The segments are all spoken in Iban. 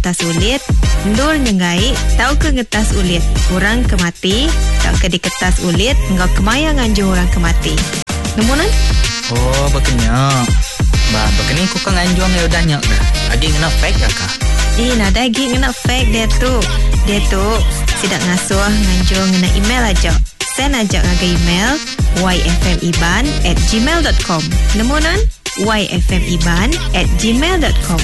ngetas ulit, endur nyenggai tauka ngetas ulit orang ke mati tauka diketas ulit enggau kemaya nganjung orang ke mati. Nemu nuan? Oh, baka nya. Ba, baka ni ku ka nganjung iya udah nya ka? Agi ngena fax ka ka? Eh, nadai agi ngena fax diatu. Diatu, sida ngasuh nganjung ngena email aja. Send aja ngagai email yfmiban at gmail dot com. Nemu nuan? yfmiban at gmail dot com.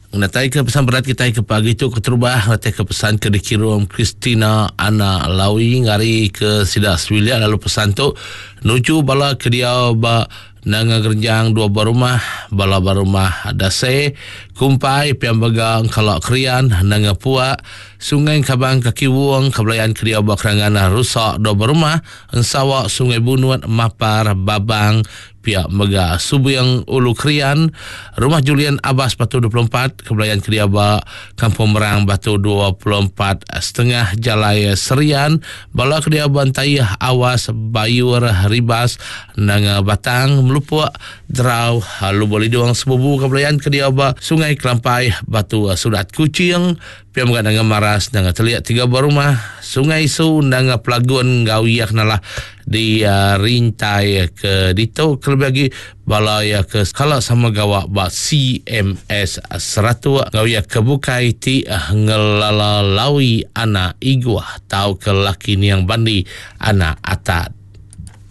Ngenataika pesan berat kitai ke pagi tu keterubah ngenataika pesan ke dikirum Christina Ana Lawi ngari ke sida sebilik lalu pesan tu nuju bala ke diau ba Nanga Gerenjang dua buah rumah bala ba rumah Dase Kumpai Piam Bega Engkala Krian Nanga Puak Sungai Engkabang Kaki Wong Kebelayan ke diau ba Kerangan Rusa dua buah rumah Ensawa Sungai Bunut Mapar Babang Pia mega Subing Ulu Krian, Rumah Julian Abbas Batu 24, Kebelayan Kedia ba Kampung Merang Batu 24 setengah Jalai Serian, Bala Kedia ba Entayah Awas Bayur Ribas Nanga Batang Melupuk Drau Lubuk Lidung Sebubu Kebelayan Kedia ba Sungai Kelampai Batu Sudat Kuching, Pia mega nanga Maras, nanga Telik tiga buah rumah, Sungai Isu, nanga Pelagun enggau iya kenalah di uh, rintai ke ditu kelebih agi bala iya ke kala sama gawa ba CMS Seratuk enggau iya ke bukai ti ngelala Lawi anak Iguh tauka laki Niang Bandi anak Atat.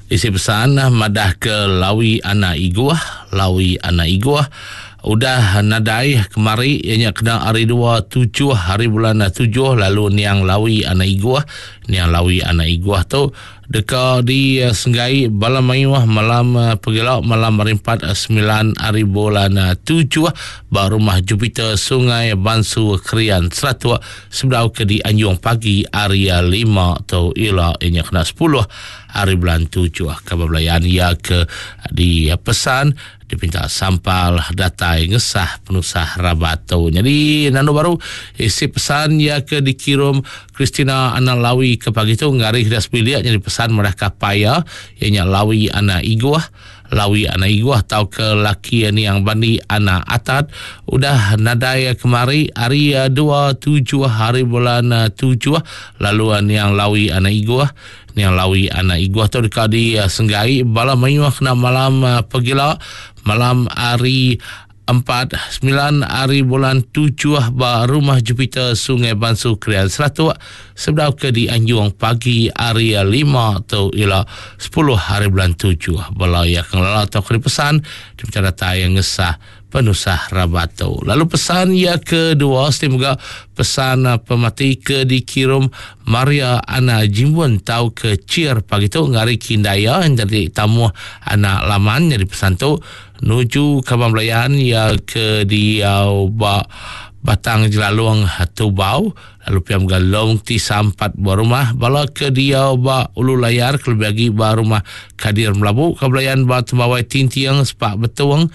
Isi pesan madah ke Lawi anak Iguh, Lawi anak Iguh udah nadai kemari iya nya kena hari dua tujuh hari bulan tujuh lalu niang Lawi anak Iguh, niang Lawi anak Iguh tu deka disenggai bala mayuh malam pegila malam hari empat semilan hari bulan tujuh ba rumah Jupiter Sungai Bansu Krian Seratuk sebedau ke dianjung pagi hari lima tu ila iya nya kena sepuluh Hari bulan tujuh ke bebelayan iya ke dipesan dipinta sampal datai ngesah penusah rabat tu. Nyadi nandu baru isi pesan iya ke dikirum Christina Anak Lawi ke pagi tu ngari sida sebilik nyadi pesan madah ke apai iya iya nya Lawi Anak Iguh Lawi Anak Iguh tauka laki niang Bandi Anak Atat udah nadai kemari hari dua tujuh hari bulan tujuh lalu niang Lawi Anak Iguh Niang Lawi anak Iguh tu deka disenggai bala mayuh kena malam pegila malam hari empat semilan hari bulan tujuh ba Rumah Jupiter Sungai Bansu Krian Seratuk sebedau ke dianjung pagi hari lima tu ila sepuluh hari bulan tujuh. Bala iya ke ngelala tauka dipesan dipinta datai ngesah penusah rabat tu. Lalu pesan iya kedua siti mega pesan pemati ke dikirum Maria Ana Jimbun tau ke Chir pagi tu ngari kindai iya jadi tamuh anak laman jadi pesan tu nuju kaban belayan iya ke diau ba Batang Jelalong Tubau lalu pia mega Long ti sampat ba rumah bala ke diau ba Ulu Layar kelebih agi ba rumah Kadir Melabu ka belayan ba Tembawai Tinting Sepak Betong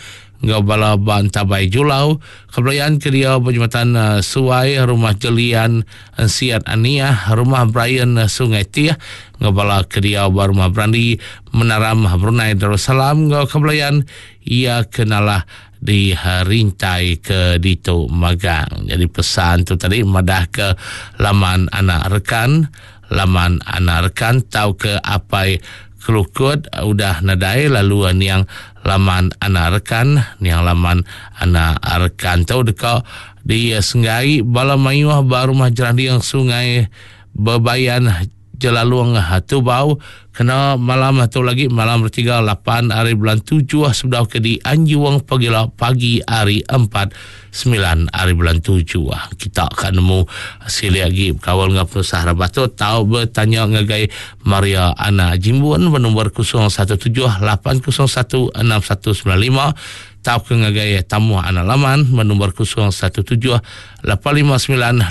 enggau bala ba Entabai Julau, Kebelayan ke diau ba Jematan Suai, Rumah Jelian Ensiat Aniah, Rumah Brian Sungai Tih, enggau bala ke diau ba Rumah Berandi Menaram Brunei Darussalam enggau Kebelayan iya ke nalah di rintai ke ditu magang. Jadi pesan tu tadi madah ke laman anak rekan, laman anak rekan tauka apai Kelukut udah nadai lalu niang laman anak rekan, niang laman anak rekan tu deka disenggai bala mayuh ba Rumah Jeranding Sungai Bebayan Jelalung Tubau kena malam tu lagi malam retiga lapan ari bulan tujuh sebedau ke dianjung pagila pagi ari empat semilan ari bulan tujuh. Kita ka nemu silik agi bekaul enggau penusah rabat tu tau betanya ngagai Maria Ana Jimbun ba nombor 017 801 6195 tauka ngagai Tamuh Anak Laman ba nombor 017 859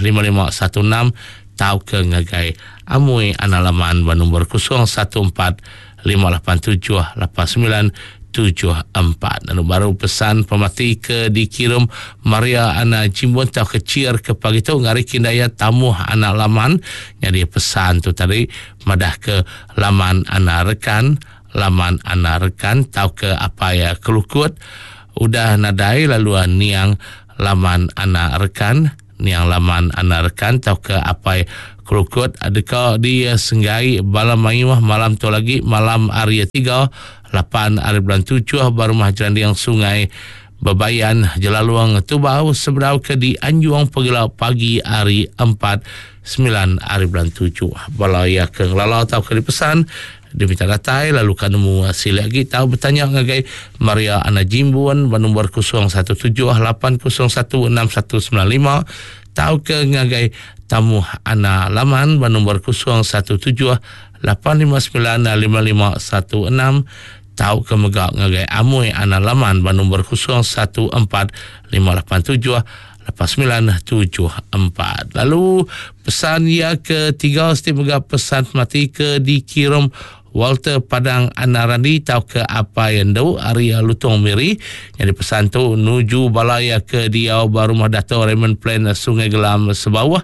5516 tauka ngagai Amui Anak Laman ba nombor 014 587 89 74. Lalu baru pesan pemati ke dikirum Maria Ana Jimbun tauka Chir ke pagi tu ngari kindaya tamuh anak laman. Nyadi pesan tu tadi madah ke laman anak rekan, laman anak rekan tauka apai kelukut udah nadai lalu niang. Laman Anak Rekan, Niang Laman Anak Rekan tauka Apai Kerukut deka disenggai bala mayuh malam tu lagi malam hari tiga, lapan hari bulan tujuh ba Rumah Jeranding Sungai Bebayan Jelalong Tubau sebedau ke dianjung pegila pagi hari empat, semilan hari bulan tujuh. Bala iya ke ngelala tauka dipesan diminta datai lalu ka nemu silik agi tau betanya ngagai Maria Anna Jimbun ba nombor 017 801 6195 tauka ngagai Tamuh Anna Laman ba nombor 017 859 5516 tauka mega ngagai Amoi Anna Laman ba nombor 014 587 8974. Lalu pesan iya ke tiga siti mega pesan mati ke dikirum Walter Padang Anna Randi tauka Apai Endu ari Lutong Miri. Nyadi pesan tu nuju bala iya ke diau ba Rumah Dato Raymond Plan Sungai Gelam Sebauh,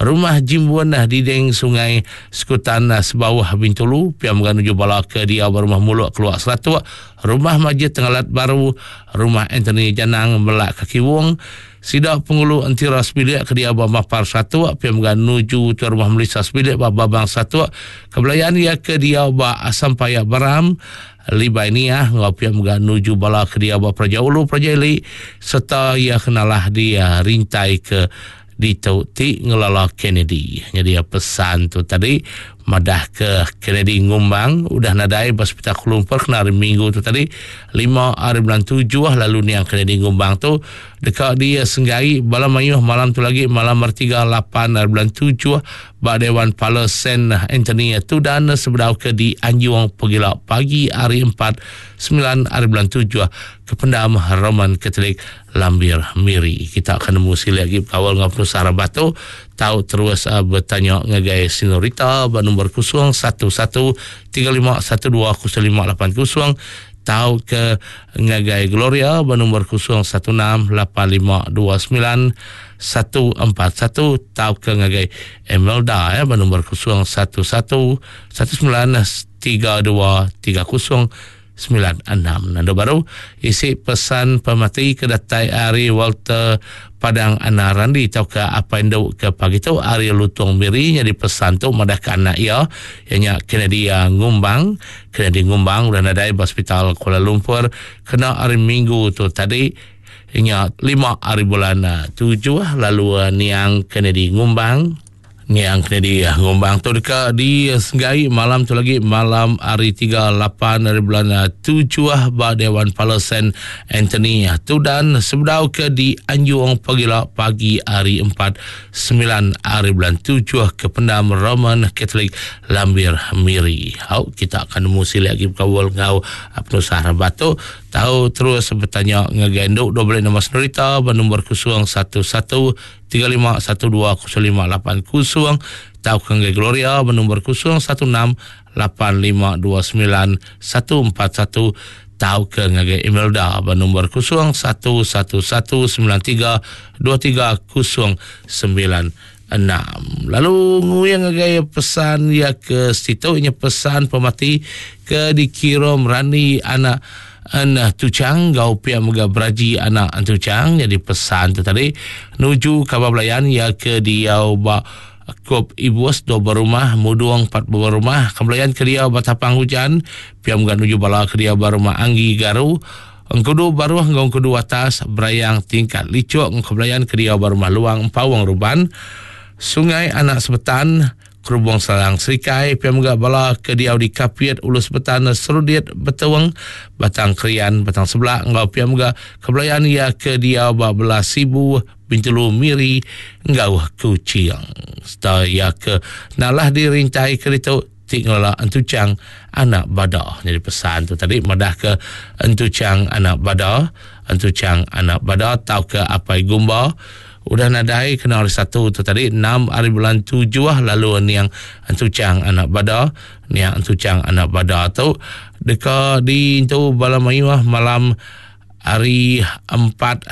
Rumah Jimbun Diding Sungai Sekutan Sebauh Bintulu, pia mega nuju bala ke diau ba Rumah Mulok Keluak Seratuk, Rumah Majid Tengalat Baru, Rumah Anthony Janang Melak Kaki Wong, sida Pengulu Entira Sebilik ke diau ba Mapar Satok, pia mega nuju Tuan Rumah Melissa Sebilik ba Babang Satok, kebelayan iya ke diau ba Asam Paya Baram, Libai Niah enggau pia mega nuju bala ke diau ba Praja Ulu Praja Ili sereta iya ke nalah di rintai ke ditu ti ngelala Kennedy. Nyadi pesan tu tadi madah ke Kennedy ngumbang udah nadai ba Sepital Kuala Lumpur kena hari Minggu tu tadi lima hari bulan tujuh lalu niang Kennedy ngumbang tu deka disenggai bala mayuh malam tu lagi malam hari tiga lapan hari bulan tujuh ba Dewan Pala Saint Anthony Tudan sebedau ke dianjung pegila pagi hari empat semilan hari bulan tujuh ke pendam Roman Katolik Lambir Miri. Kita akan nemu silik agi bekaul enggau penusah rabah tu, tau terus betanya ngagai Senorita ba nombor 011 3512 0580 tauka ngagai Gloria ba nombor 016 8529 141 tauka ngagai Emelda ba nombor 011 19 32 30 96. Nandu baru, isi pesan pemati ke datai ari Walter Padang Ana Randi tauka Apai Endu ke pagi tu ari Lutong Miri nyadi pesan tu madahka anak iya, iya nya Kennedy Ngumbang. Kennedy Ngumbang udah nadai ba Sepital Kuala Lumpur kena hari Minggu tu tadi, iya nya lima hari bulan tujuh lalu niang Kennedy Ngumbang. Niang Kennedy Ngumbang tu deka disenggai malam tu lagi malam hari tiga lapan hari bulan tujuh ba Dewan Pala Saint Anthony Tudan sebedau ke dianjung pagila pagi hari empat semilan hari bulan tujuh ke pendam Roman Catholic Lambir Miri. Au kita akan nemu silik agi bekaul enggau penusah rabat tu. Tau terus betanya ngagai endu dua belas nama senerita ba nombor 011 35120580 tauka ngagai Gloria ba nombor 0168529141 tauka ngagai Imelda ba nombor 0111932309. Lalu nguyang ngagai pesan iya ke situ inya pesan pemati ke dikirum Rani anak En Tuchang enggau pia mega Beraji anak En Tuchang nyadi pesan tu tadi nuju kaban belayan iya ke diau ba Kop Ibus dua buah rumah Mudung empat buah rumah kaban belayan ke diau ba Tapang Hujan pia mega nuju bala ke diau ba Rumah Anggi Garu Engkudu Baruh enggau Engkudu Atas Berayang Tingkat Lichok enggau kaban belayan ke diau ba Rumah Luang Empawang Ruban Sungai Anak Sebetan Kerubung Salang Serikai, pia mega bala ke diau di Kapit, Ulu Sebetan, Serudit, Betong, Batang Krian, Batang Seblak enggau pia mega kebelayan iya ke diau ba bela Sibu, Bintulu, Miri enggau Kuching. Sereta iya ke nalah dirintai ke ditu ti ngelala Entuchang Anak Bada. Nyadi pesan tu tadi madahka Entuchang Anak Bada, Entuchang Anak Bada tauka Apai Gumba, Udah nadai kena hari Satu tu tadi enam hari bulan tujuh lalu niang Entuchang anak Bada. Niang Entuchang anak Bada tu deka diintu bala mayuh malam hari empat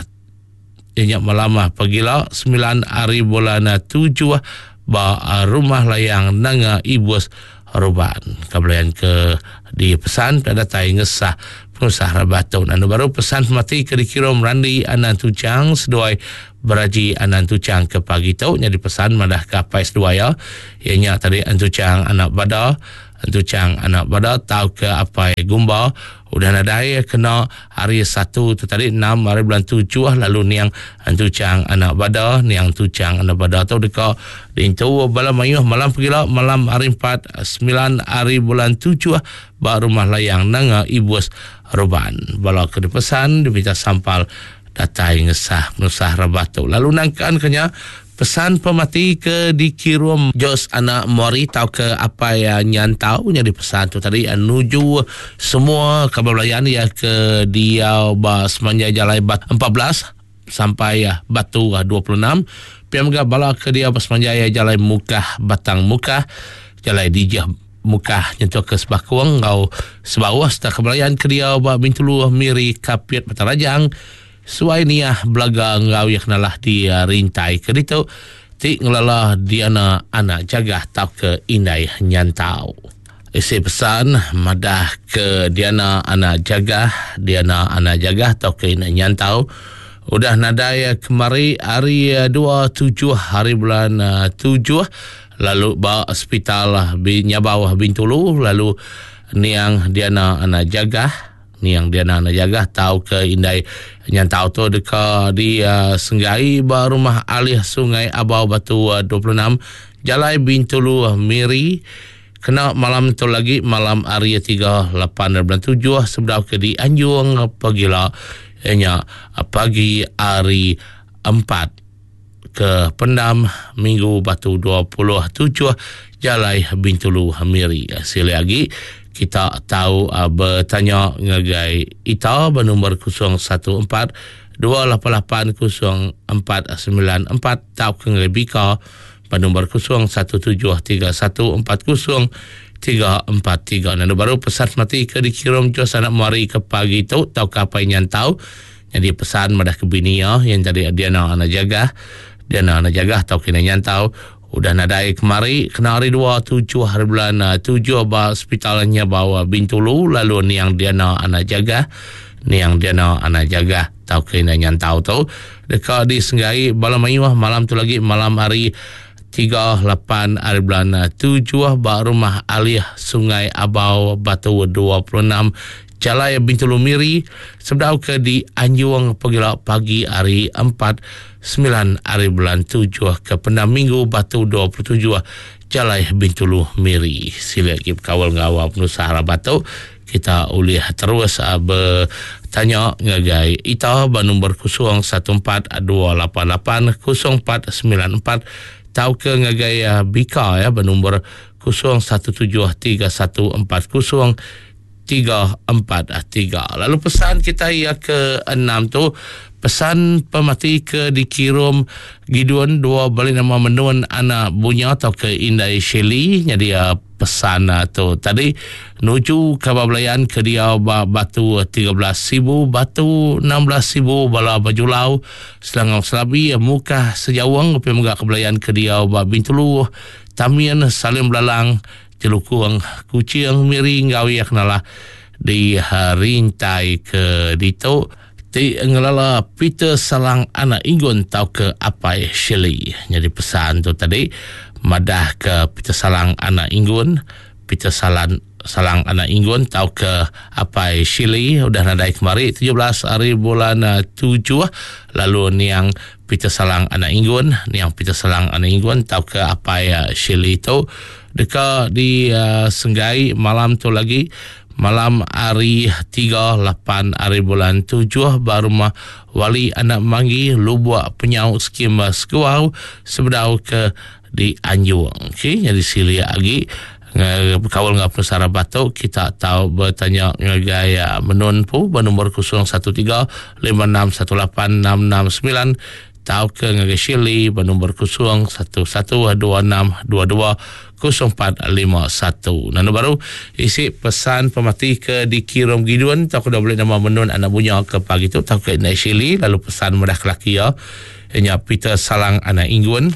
iya nya malam pagila semilan hari bulan tujuh ba Rumah Layang Nanga Ibus Ruban. Ka belayan ke dipesan pia datai ngesah. Penusah rabat tu anu baru pesan pemati ke dikirum Randi Anan Tuchang seduai Beraji Anan Tuchang ke pagi tu nyadi pesan madah ke apai seduai iya iya nya tadi Antuchang anak Bada Antuchang anak Bada tauka apai Gumba udah nadai kena hari Satu tu tadi enam hari bulan tujuh lalu niang Antuchang anak Bada niang Tuchang anak Bada tu deka diintu bala mayuh malam pegila malam hari empat semilan hari bulan tujuh Ba rumah layang nanga Ibus Roban. Bala ke dipesan dipinta sampal datai ngesah penusah rebah tu. Lalu nangkan ke nya, pesan pemati ke dikirum Jos anak Muari tauka apai Nyantau nyadi pesan tu tadi nuju semua kaban belayan iya ke diau ba semanjai jalai 14 sampai Batu 26. Pia mega bala ke diau ba semanjai jalai Mukah Batang Mukah, jalai Dijih Mukah nyentuk ke Sebakung enggau Sebauh sereta ke belayan ke diau ba Bintulu, Miri, Kapit, Batang Rajang, Suai Niah, Belaga enggau iya kenalah di Rintai ke ditu ti ngelala Diana Anak Jagah tauka Indai Nyantau. Isi pesan madah ke Diana Anak Jagah, Diana Anak Jagah tauka Indai Nyantau udah nadai kemari hari dua tujuh hari bulan tujuh lalu ba sepital Nyabau Bintulu lalu niang Diana Anak Jagah niang Diana Anak Jagah tauka indai Nyantau tu deka disenggai ba rumah alih Sungai Abau Batu 26 Jalai Bintulu Miri kena malam tu lagi malam hari 3 8 bulan 7 sebedau ke dianjung pagila nya pagi hari 4 ke pendam Minggu Batu 27 Jalai Bintulu Miri. Silih agi kita tau betanya ngagai ita ba nombor 014 288 0494 tauka ngagai Bika ba nombor 017 31 40 343. Lalu baru pesan mati ke dikirum Jos anak Muari ke pagi tu tauka apai nyantau Nyadi pesan madah ke bini iya yang jadi Diana anak Jagah. Diana anak Jagah tau kena nyantau udah nadai kemari kena hari dua tujuh hari bulan eh, tujuh ba hospital Nyabau Bintulu lalu niang Diana anak Jagah niang Diana anak Jagah tau kena nyantau tu deka disenggai bala mayuh malam tu lagi malam hari tiga lapan hari bulan eh, tujuh ba rumah alih Sungai Abau Batu 26 Jalai Bintulu Miri sebedau ke dianjung pegila pagi hari empat semilan hari bulan tujuh ke pendam minggu Batu 27 Jalai Bintulu Miri. Sila agi bekaul enggau penusah rabat tu kita ulih terus betanya ngagai ita ba nombor 014 288 0494 tauka ngagai Bika ya ba nombor 017 3140 3, 4, 3. Lalu pesan kita iya ke enam tu, pesan pemati ke dikirum Gideon dua bali nama Menun anak Bunya atau ke Indai Shelley nyadi pesan tu tadi nuju kaban belayan ke diau ba Batu 13 Sibu, Batu 16 Sibu, bala Bajulau, Selangau Selabi, Mukah Sejawang, pia mega ke belayan ke diau ba Bintulu, Tamin, Salim Belalang, Jelukung, Kuching, Miri enggau iya kenalah di rintai ke ditu ti ngelala Peter Salang anak Inggun tauka Apai Shirley. Nyadi pesan tu tadi madah ke Peter Salang anak Inggun, Peter Salan Salang anak Inggun tauka Apai Shirley udah nadai kemari 17 hari bulan 7 lalu niang Peter Salang anak Inggun, niang Peter Salang anak Inggun tauka Apai Shirley tu deka disenggai malam tu lagi malam hari tiga lapan hari bulan tujuh ba rumah Wali anak Manggi Lubuk Penyau Skim Sekuau sebedau ke dianjung. Okey nyadi silik agi bekaul enggau penusah rabat tu kita tau betanya ngagai Menun empu ba nombor 013 5618 669 tauka ngagai Shirley ba nombor 011 26 22 0451. Nanu baru isi pesan pemati ke dikirum Gideon tauka dah boleh nama Menun anak Bunya ke pagi tu tauka indai Shirley lalu pesan madah ke laki iya nya Peter Salang anak Inggun.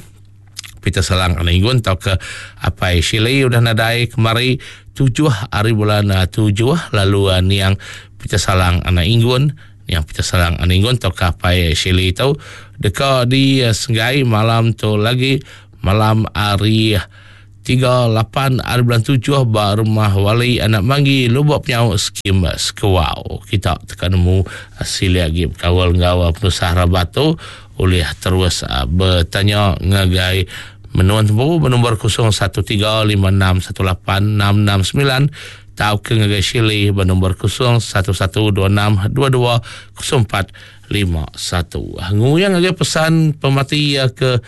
Peter Salang anak Inggun tauka apai Shirley udah nadai kemari tujuh hari bulan tujuh lalu niang. Peter Salang anak Inggun yang Peter Salang anak Inggun tauka apai Shirley tu deka di senggai malam tu lagi malam hari 3 8 hari bulan 7 ba rumah Wali anak Manggi Lubok Penyau Skim Sekuau. Kita teka nemu silik agi bekaul enggau penusah rabat tu ulih terus betanya ngagai menua tembu benombor 0135618669 tauka ngagai Shirley benombor 0112622045. Nguyang ngagai pesan pemati iya ke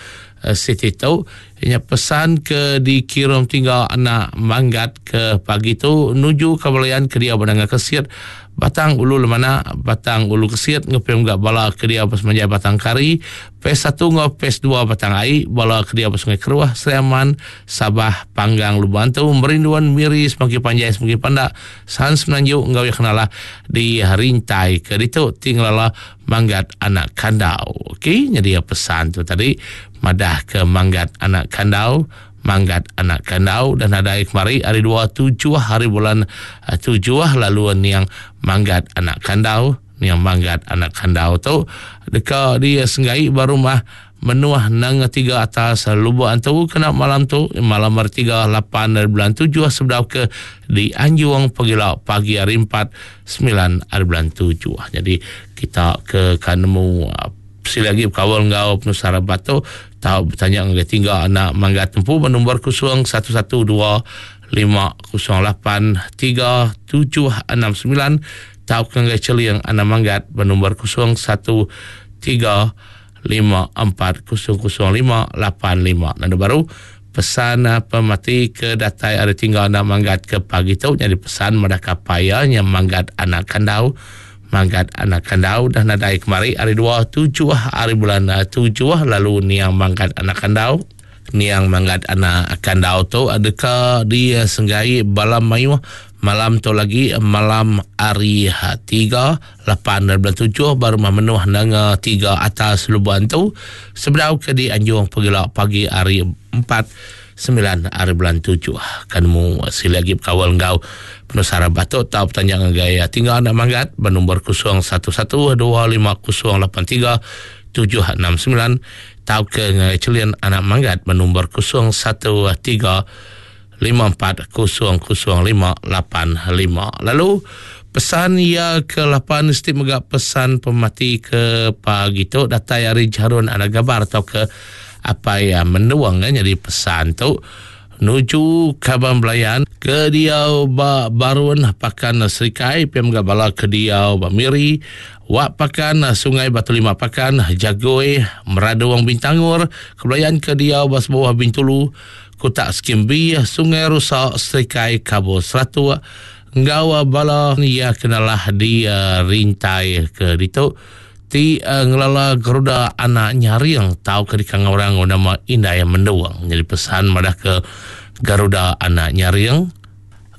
siti tu inya pesan ke dikirum tinggal anak manggat ke pagi tu nuju ke belayan ke dia benanga kesit Batang Ulu Lemanak, Batang Ulu Kesit ngepim ga bala ke diau ba semanjai Batang Kari, Phase satu enggau Phase dua Batang Ai, bala ke diau ba Sungai Keruh, Sri Aman, Sabah, Panggang, Lubok Antu, Merinduan, Miri, Semangki Panjai, Semangki Pandak, San Semenanjung enggau iya kenalah di Rintai ke ditu ti ngelala Manggat Anak Kandau. Okey, nyadi pesan tu tadi madah ke Manggat Anak Kandau. Manggat anak Kandau dan nadai kemari hari dua tujuh hari bulan eh, tujuh lalu niang Manggat anak Kandau niang Manggat anak Kandau tu deka disenggai ba rumah menuh nang tiga atas Lubok Antu kena malam tu malam hari tiga lapan hari bulan tujuh sebedau ke dianjung pegila pagi hari empat sembilan hari bulan tujuh. Jadi kita ke ka nemu Sila agi bekaul enggau penusah rabat tu tau betanya ngagai tingga anak Manggat Tempu ba nombor 011 2508 3769 tauka ngagai Cheling anak Manggat ba nombor 013 5400585. Lalu baru pesan pemati ke datai ari tinggal anak Manggat ke pagi tu nyadi pesan madah kapai iya nya Manggat anak Kandau. Manggat anak Kandau dah nadai kemari hari dua tujuh hari bulan tujuh lalu niang Manggat anak Kandau. Niang Manggat anak Kandau tu deka disenggai bala mayuh malam tu lagi malam hari tiga lapan hari bulan tujuh ba rumah menuh nanga tiga atas Lubok Antu sebedau ke dianjung pegila pagi hari empat semilan hari bulan tujuh. Kan nemu sila agi bekaul enggau penusah rabat tu tau betanya ngagai tinggal anak Manggat ba nombor 01125083 769 tauka ngagai Chelin anak Manggat ba nombor 0135400585. Lalu pesan iya ke lapan mesti mega pesan pemati ke pagi tu datai ari Jarun anak Gabar tauka apai Menduang nyadi pesan tu nuju kaban belayan ke diau ba Barun Pakan Serikai pia mega bala ke diau ba Miri Wak Pakan Sungai Batu Lima Pakan Jagoi Meradong Bintangor ke belayan ke diau ba Sebuah Bintulu Kutak Skim B Sungai Rusa Serikai Kabul Seratuk enggau bala iya kenalah di rintai ke ditu ti ngelala Garuda anak Nyaring tauka dikangau orang enggau nama Indai Mendung. Nyadi pesan madah ke Garuda anak Nyaring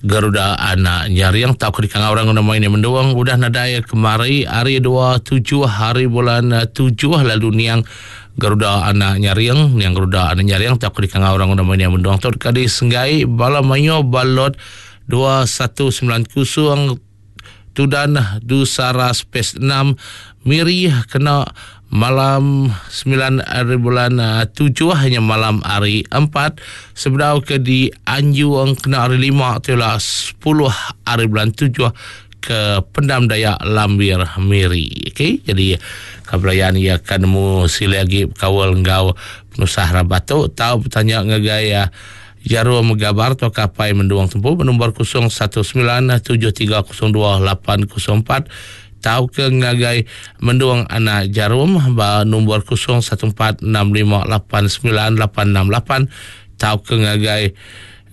Garuda anak Nyaring tauka dikangau orang enggau nama Indai Mendung udah nadai kemari hari dua tujuh hari bulan tujuh lalu niang Garuda anak Nyaring niang Garuda anak Nyaring tauka dikangau orang enggau nama Indai Mendung tu deka disenggai bala mayuh ba lot 2190 Tudan Dusara Space 6 Miri kena malam 9 hari bulan 7 hanya malam hari 4 sebedau ke di Anjung kena hari 5 tu lah 10 hari bulan 7 ke Pendam Dayak Lambir Miri. Okey, jadi kebelayan ia akan nemu sila lagi bekaul enggau penusah rabat tu tau bertanya ngagai uh, Jarum Gabar tauka apai Menduang Tempu benombor 0197302804 tauka ngagai Menduang Anak Jarum ba nombor 0146589868 tauka ngagai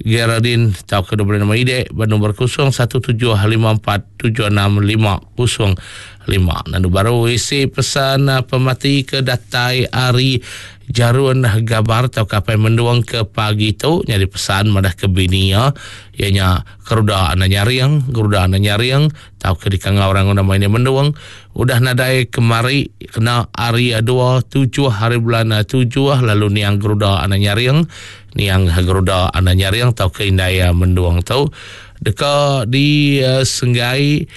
Geraldine tauka dua nama ide ba nombor 0175476505. Lalu baru isi pesan pemati ke datai ari Jarun gabar tauka apai menduang ke pagi tu nyadi pesan madah ke bini iya iya nya Keruda anak Nyaring, Geruda anak Nyaring tauka dikangau orang nama ini Menduang udah nadai kemari kena hari dua tujuh hari bulan tujuh lalu niang Geruda anak Nyaring niang Geruda anak Nyaring tauka indai Menduang tu deka disenggai.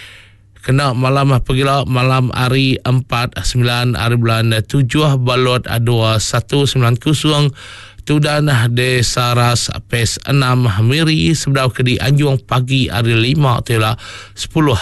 Kena malam pegila malam hari 4 9 hari bulan 7 balot 2190 Tudan Desa Ras Pes 6 Miri sebedau ke di Anjung pagi hari 5 tu ila 10.